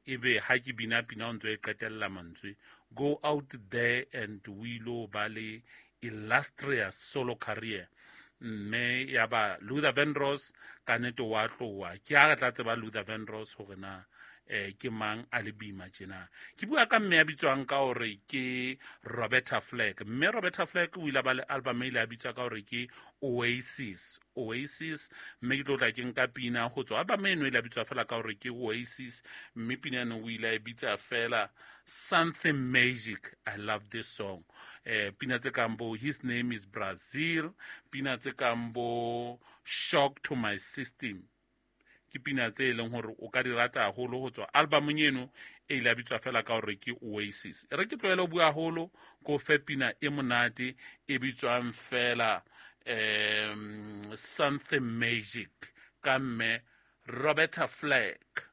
Ebe ha ke bina pina o ntso e qetella mantswe. Go out there and o ilo ba le illustrious solo career. Mme ya ba Luther Vandross ka nnete wa tloa. Ke ha re tla tseba Luther Vandross hore na ke mang a le boima tjena. Ke bua ka mme ya bitswang ka hore ke Roberta Flack. Mme Roberta Flack o ile ba le album e ile a bitswa ka hore ke Oasis. Oasis, mme ke tlo tla ke nka pina ho tswa album eno e ile a bitswa fela ka hore ke Oasis, mme pina eno o ile a e bitsa fela Something Magic. I love this song. Pina tse kang bo His Name is Brazil, pina tse kang bo Shock to My System, ke pina tse e leng hore o ka di rata haholo ho tswa albumong eno e ile a bitswa fela ka hore ke Oasis. E re ke tlohele ho bua haholo, ko fe pina e monate e bitswang fela Something Magic ka mme Roberta Flack.